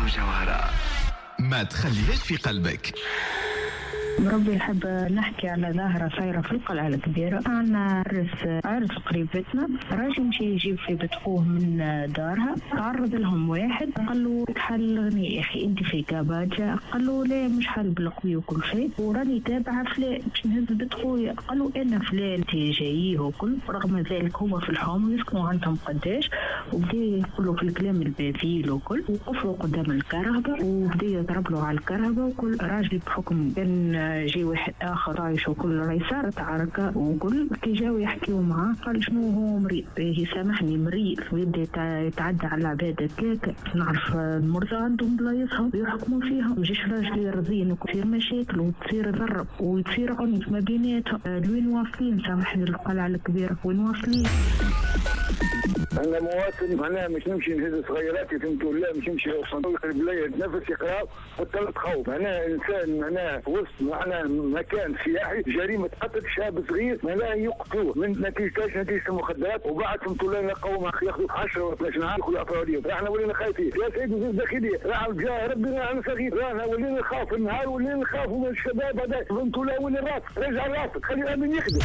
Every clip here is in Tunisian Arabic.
وجوهرة، ما تخليهاش في قلبك. بربي نحب نحكي على ظاهرة صايرة في القلعة الكبيرة. عندنا عرس قريبتنا، راجل مشي يجيب في بنت خوه من دارها، تعرض لهم واحد قال له تحل غني يا أخي أنت في كاباجا، قال له لا مش حل بالقوي وكل شيء، وراني تابعة فلان باش نهز بنت خويا، قال له أنا فلان أنت جاييه وكل. رغم ذلك هما في الحوم يسكنوا عندهم قداش، وبدا يقولوا في الكلام البذيل وكل، وقفوا قدام الكهرباء وبدا يضرب له على الكهرباء وكل. راجل بحكم كان جي واحد اخر عايش وكل راهي صارت عركة وكل، كي جاو يحكيو معاه قال شنو هو مريض، باهي سامحني مريض، ويبدا يتعدى على العباد هكاك. نعرف المرضى عندهم بلايصهم ويحكموا فيهم، ما يجيش راجل يرضين وتصير مشاكل وتصير ضرب وتصير عنف ما بيناتهم. لوين واصلين؟ سامحني القلعة الكبيرة وين واصلين؟ أنا مواطن معناها مش نمشي نهز صغيراتي فهمتوا لا، مش نمشي صندوق البلاية نفس يقرا بطلت خوف. معناها إنسان معناها في وسط معناها مكان سياحي جريمة قتل شاب صغير معناها يقتلوه من نتيجة نتيجة المخدرات، وبعد فهمتوا لا نلقاو ياخذوا 10 و 12 عام ياخذوا أفرادية. احنا ولينا خايفين يا سيدي وزير الداخلية، راح جا ربي راح صغير، رانا ولينا نخاف النهار ولينا نخاف من الشباب هذا فهمتوا لا، ولي الراس رجع راسك خلي الأمن يخدم.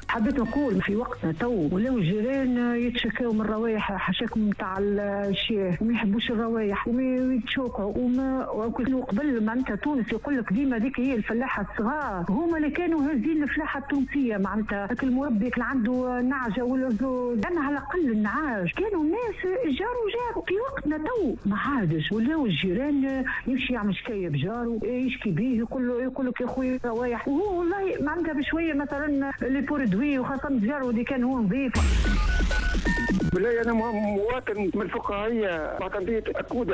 حبيت نقول في وقتنا تو ولاو الجيران يتشكاو من الروايح حاشاكم نتاع الشياه وما يحبوش الروايح ويتشوكوا وما وقبل معناتها تونس يقول لك ديما ذيك هي الفلاحة الصغار هما اللي كانوا هازين الفلاحة التونسية، معناتها هاك المربي اللي عنده نعجة ولا زوج، انا على الاقل النعاج كانوا الناس جاروا جاروا. في وقتنا تو ما عادش ولاو الجيران يمشي يعمل شكاية بجارو يشكي به يقول لك يا خويا روايح، وهو والله معناتها بشوية مثلا les produits وخاصة الجار اللي كان هو نظيف. بالله أنا مواطن من الفقهية معتمدية أكودة.